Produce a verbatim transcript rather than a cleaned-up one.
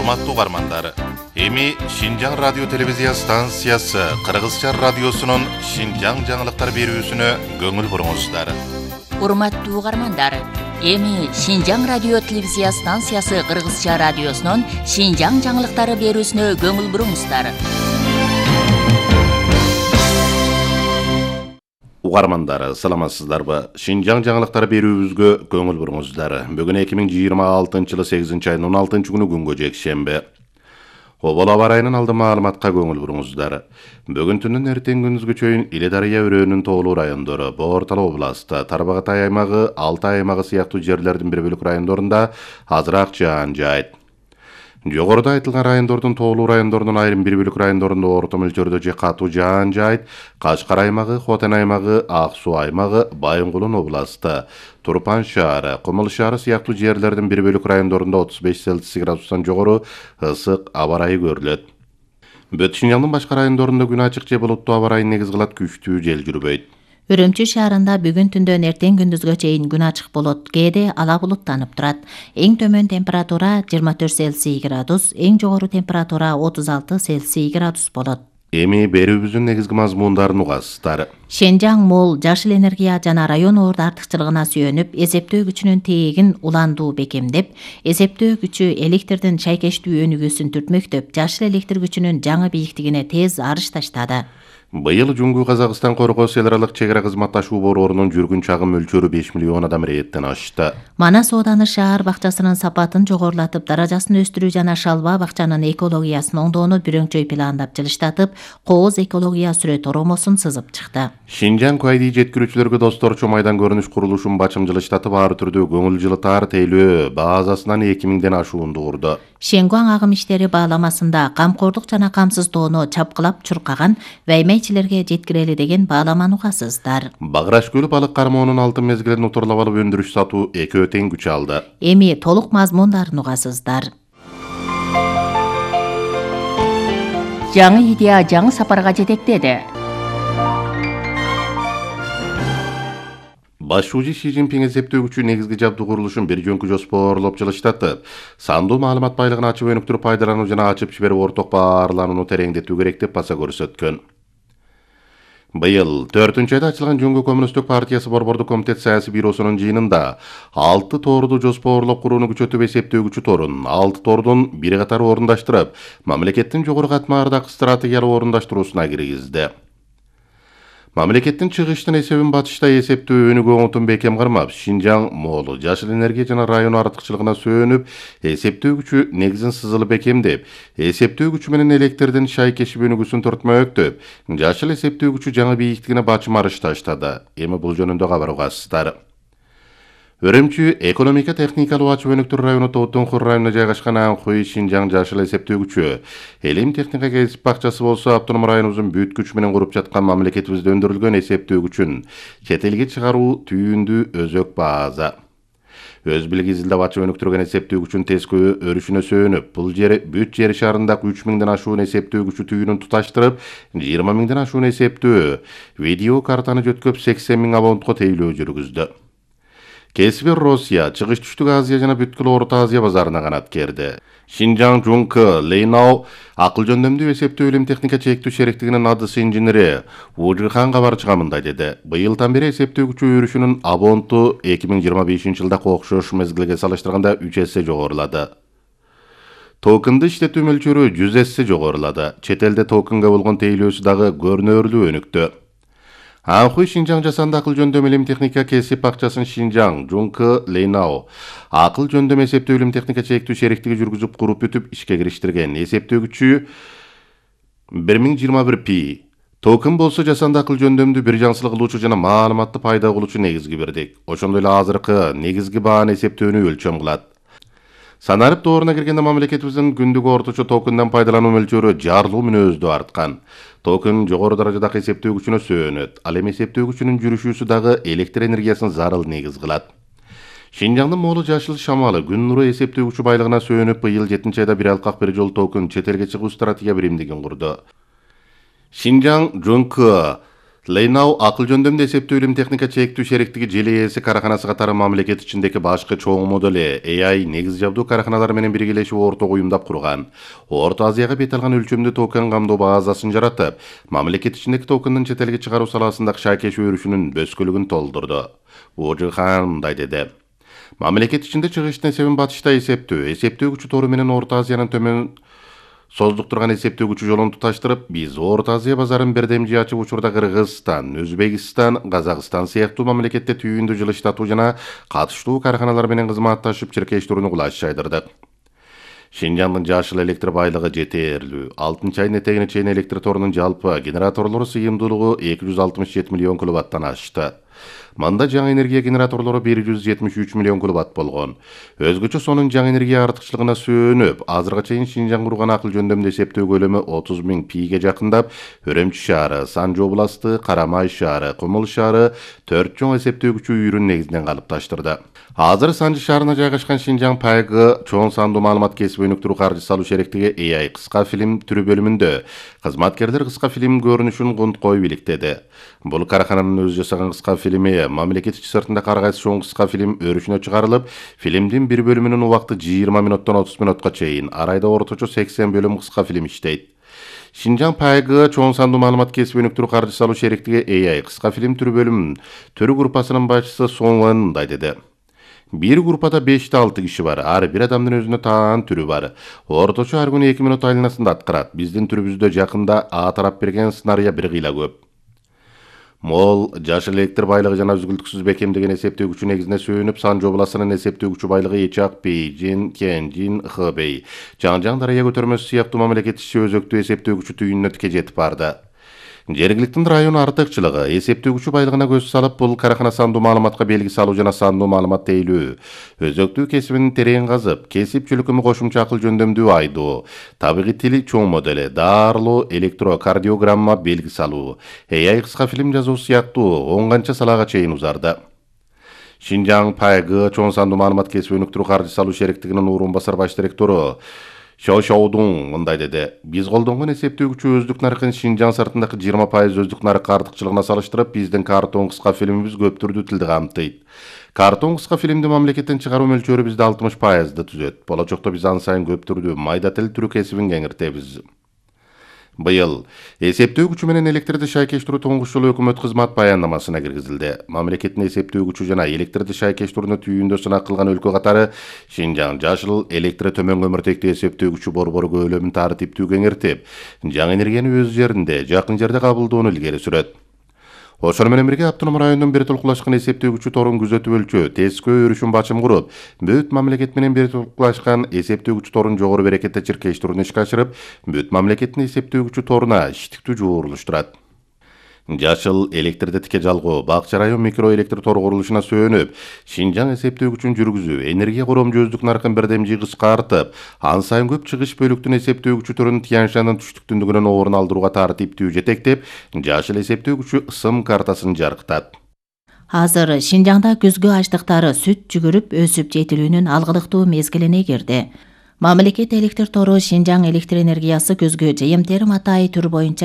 Урматтуу угармандар, эми Шинжаң радио телевизия станциясы Кыргызча радиосунун Шинжаң жаңылыктар берүүсүнө көңүл буруңуздар. Урматтуу угармандар, эми Шинжаң радио телевизия станциясы Кыргызча радиосунун Шинжаң жаңылыктары берүүсүнө көңүл буруңуздар. Угармандар, саламатсыздарбы? Шинжаң жаңылыктары берүүбүзгө көңүл буруңуздар. Бүгүн эки миң жыйырма алтынчы жылы сегизинчи айдын он алтынчы күнү күнгө жекшемби. Обол аба ырайынын алды маалыматка көңүл буруңуздар. Бүгүн түндүн эртең күндүзгө чейин Иле Дарыя өрөөнүн тоолуу райондору, Боортал областы, Тарбагатай аймагы, Алтай аймагы сыяктуу жерлердин бир бөлүк райондорунда азыраак жаан жаайт. Жогоруда айтылган райондордун тоолуу райондорунун айрым бир бөлүк райондорунда орто мөлчөрдө же катуу жаан жаайт. Кашкар аймагы, Хотен аймагы, Ак Суу аймагы, Байынгулун областы, Турпан шаары, Кумул шаары сыяктуу жерлердин бир бөлүк райондорунда отуз беш Цельсий градустан жогору ысык аба ырайы көрүлөт. Бүт Шинжаңдын башка райондорунда күн ачык же булуттуу аба ырайын негиз кылат, күчтүү жел жүрбөйт. Үрүмчү шаарында бүгүн түндөн эртең күндүзгө чейин күн ачык болот. Кээде ала булуттанып турат. Эң төмөн температура жыйырма төрт Цельсий градус, эң жогору температура отуз алты Цельсий градус болот. Эми берүүбүздүн негизги мазмундарын угасыздар. Шинжаң мол жашыл энергия жана район орду артыкчылыгына сүйөнүп, эсептөө күчүнүн тегин уландуу бекемдеп, эсептөө күчү электрдин шайкештүү өнүгүүсүн түртмөктөп, жашыл электр күчүнүн жаңы бийиктигине тез арыш таштады. Быйыл Жуңгу Казакстан коргоос эл аралык чек ара кызматташуу борборунун жүргүн чагым мөлчөрү беш миллион адам рээттен ашты. Манас ооданы шаар бакчасынын сапатын жогорулатып, даражасын өстүрүү жана шалба бакчанын экологиясын оңдоону бүрөңчөй пландап жылыштатып, кооз экология сүрөт оромосун сызып чыкты. Шинжаң Кайди жеткирүүчүлөргө досторчу майдан көрүнүш курулушун бачым жылыштатып, ар түрдүү көңүл жылытаар тейлөө базасынан эки миңден ашуунду курду. Шенгуаң агым иштери бааламасында камкордук жана камсыздоону чапкылап чуркаган ваймейчилерге жеткирели деген бааламаны угасыздар. Багыраш көлү балык кармоонун алтын мезгилин утурлап алып өндүрүш сатуу экөө тең күч алды. Эми толук мазмундарын угасыздар. Жаңы идея жаңы сапарга жетектеди. Башчы Си Цзиньпин эсептөө күчү негизги жабдуу курулушун бир жөнкү жоспорлоп жылыштатып, сандуу маалымат байлыгын ачып өнүктүрүп пайдалануу жана ачып жиберип орток баарланууну тереңдетүү керек деп баса көрсөткөн. Быйыл төртүнчү айда ачылган Жөнгө Коммунисттик партиясы борбордук комитет саясий бюросунун жыйынында алты торду жоспорлоп курууну күчөтүп, эсептөө күчү торун алты тордун бир катары орундаштырып, мамлекеттин жогору катмардагы стратегиялык орундаштыруусуна киргизди. Мамлекеттин чыгыштын эсебин батышта эсептөө өнүгүү оңотун бекем кармап, Шинжаң молу жашыл энергия жана район артыкчылыгына сөөнүп, эсептөө күчү негизин сызылып бекемдеп, эсептөө күчү менен электрдин шайкешип өнүгүүсүн төртмөктөп, жашыл эсептөө күчү жаңы бийиктигине бачым арыш таштады. Эми бул жөнүндө кабар угасыздар. Өрөмчү экономика техникалык ачып өнүктүрүү району Тоотонхур районуна жайгашкан Анхуй Шинжаң жашыл эсептөө күчү Элим техника кесип бакчасы болсо автоном районубуздун бүт күчү менен куруп жаткан мамлекетибизде өндүрүлгөн эсептөө күчүн чет элге чыгаруу түйүндүү өзөк база. Өз билиги изилдеп ачып өнүктүргөн эсептөө күчүн тескөө өрүшүнө сөөнүп, бул жери бүт жер шарындагы үч миңден ашуун эсептөө күчү түйүнүн туташтырып, жыйырма миңден ашуун эсептөө видео картаны жөткөп сексен миң абонентко тейлөө жүргүздү. Кесиби Россия, Чыгыш Түштүк Азия жана бүткүл Орто Азия базарына канат керди. Шинжаң Жункы Лейнау акыл жөндөмдүү эсептөө илим техника чектүү шериктигинин адысы инженери Ужихан кабарчыга мындай деди. Быйылдан бери эсептөө күчү өрүшүнүн абоненту эки миң жыйырма бешинчи жылдагы окшош мезгилге салыштырганда үч эсе жогорулады. Токенды иштетүү мөлчөрү жүз эсе жогорулады. Чет элде токенге болгон тейлөөсү дагы көрүнөрлүү өнүктү. Анхуй Шинжаң жасанды акыл жөндөм илим техника кесип бакчасын Шинжаң Жункы Лейнау акыл жөндөм эсептөө илим техника чектүү шериктиги жүргүзүп куруп бүтүп ишке кириштирген. Эсептөө күчү бир миң жыйырма бир пи. Токен болсо жасанды акыл жөндөмдүү бир жансылык кылуучу жана маалыматты пайда кылуучу негизги бирдик. Ошондой эле азыркы негизги бааны эсептөөнү өлчөм кылат. Санарып дооруна киргенде мамлекетибиздин күндүк орточо токенден пайдалануу мөлчөрү жарлуу мүнөздүү арткан. Токен жогору даражадагы эсептөө күчүнө сөөнөт. Ал эми эсептөө күчүнүн жүрүшүүсү дагы электр энергиясын зарыл негиз кылат. Шинжаңдын молу жашыл шамалы күн нуру эсептөө күчү байлыгына сөөнүп, быйыл жетинчи айда бир алкак бир жол токен чет элге чыгуу стратегия биримдигин курду. Шинжаң Жункы Лейнау акыл жөндөмдүү эсептөө илим техника чектүү шериктиги ЖЛС караханасы катары мамлекет ичиндеги башкы чоң модели А I негиз жабдуу караханалар менен биргелешип ортого уюмдап курган. Орто Азияга бет алган өлчөмдүү токен камдоо базасын жаратып, мамлекет ичиндеги токендин чет элге чыгаруу саласындагы шайкеш өрүшүнүн бөскөлүгүн толтурду. Ожихан мындай деди. Мамлекет ичинде чыгыштын эсебин батышта эсептөө, эсептөө күчү тору менен Орто Азиянын төмөн создук турган эсептөө күчү жолун туташтырып, биз Орто Азия базарын бердемжи ачып учурда Кыргызстан, Өзбекстан, Казакстан сыяктуу мамлекетте түйүндү жылыштатуу жана катыштуу караханалар менен кызматташып чиркештирүүнү кулаш жайдырдык. Шинжаңдын жашыл электр байлыгы жетерлүү. Алтынчы айдын этегине чейин электр торунун жалпы генераторлору сыйымдуулугу эки жүз алтымыш жети миллион киловаттан ашты. Мында жаңы энергия генераторлору бир жүз жетимиш үч миллион киловатт болгон. Өзгөчө сонун жаңы энергия артыкчылыгына сүйөнүп, азыркыга чейин Шинжаң курган акыл жөндөмдүү эсептөө көлөмү отуз миң пиге жакындап, Өрөмчү шаары, Санжы областы, Карамай шаары, Кумул шаары төрт чоң эсептөө күчү үйрүн негизинен калыпташтырды. Азыр Санжы шаарына жайгашкан Шинжаң пайгы чоң сандуу маалымат кесип өнүктүрүү каржы салуу шериктиги А I кыска фильм түрү бөлүмүндө кызматкерлер кыска фильм көрүнүшүн кунткой бийликтеди. Бул карахананын өзү жасаган кыска фильми мамлекет ичи сыртында каргайсы чоң кыска фильм өрүшүнө чыгарылып, фильмдин бир бөлүмүнүн убакыты жыйырма минуттан отуз минутка чейин, арайда орточо сексен бөлүм кыска фильм иштейт. Шинжаң пайгы чоң сандуу маалымат кесип өнүктүрүү каржы салуу шериктиги А I кыска фильм түрү бөлүм төрү группасынын башчысы Соңлан мындай деди. Бир группада беште алты киши бар. Ар бир адамдын өзүнө таан түрү бар. Орточо ар күнү эки минут айланасында аткарат. Биздин түрүбүздө жакында А тарап берген сценария бир кыйла көп. Мол жашыл электр байлыгы жана үзгүлтүксүз бекемдеген эсептөө күчү негизине сүйөнүп, Санжы областынын эсептөө күчү байлыгы Эчак, Бейжин, Кенжин, Хэбэй, Жаңжаң дарыя көтөрмөсү сыяктуу мамлекет ичи өзөктүү эсептөө күчү түйүнүнө тике жетип барды. Жергиликтин район артыкчылыгы эсептөө күчү байлыгына көз салып, бул карахана сандуу маалыматка белги салуу жана сандуу маалымат тейлөө, өзөктүү кесибин терең казып, кесип чөлкөмү кошумча акыл жөндөмдүү айдоо, табигый тили чоң модели, даарылоо, электрокардиограмма белги салуу, А I кыска фильм жазуу сыяктуу он канча салага чейин узарды. Шинжаң пайгы чоң сандуу маалымат кесип өнүктүрүү каржы салуу шериктигинин орун басар баш директору Шоушоудун мындай деди. Биз колдонгон эсептөө күчү өздүк наркын Шинжаң сыртындагы жыйырма пайыз өздүк наркы артыкчылыгына салыштырып, биздин картон кыска фильмибиз көп түрдүү тилди камтыйт. Картон кыска фильмди мамлекеттен чыгаруу мөлчөрү бизде алтымыш пайызды түзөт. Болочокто биз ан сайын көп түрдүү майда тил түрү кесибин кеңиртебиз. Быйыл эсептөө күчү менен электрди шайкештирүү туңгуч жолу өкмөт кызмат баяндамасына киргизилди. Мамлекеттин эсептөө күчү жана электрди шайкештирүүнү түйүндө сынак кылган өлкө катары Шинжаң жашыл электр төмөн көмүртектүү эсептөө күчү борбору көлөмүн тартиптүү кеңиртип, жаңы энергияны өз жеринде, жакын жерде кабылдоону илгери сүрөт. Ошону менен бирге автоном райондун бир толкулашкан эсептөө күчү торун күзөтүп өлчөө, тескөө өрүшүн бачым куруп, бүт мамлекет менен бир толкулашкан эсептөө күчү торун жогору берекетте чиркештирүүнү ишке ашырып, бүт мамлекеттин эсептөө күчү торуна иштиктүү жуурулуштурат. Жашыл электрди тике жалгоо, Бакча район микроэлектр тор курулушуна сүйөнүп, Шинжаң эсептөө күчүн жүргүзүү, энергия коромжу өздүк наркын бердемжи кыскартып, ан сайын көп чыгыш бөлүктүн эсептөө күчү төрүн Тянь-Шаньдын түштүктүндүгүнөн орун алдырууга тартиптүү жетектеп, жашыл эсептөө күчү ысым картасын жарыктат. Азыр Шинжаңда күзгү ачтыктары сүт жүгүрүп өсүп жетилүүнүн алгылыктуу мезгилине кирди. Мамлекет электр тору Шинжаң электр энергиясы күзгү жыйым терим атайы түрү боюнча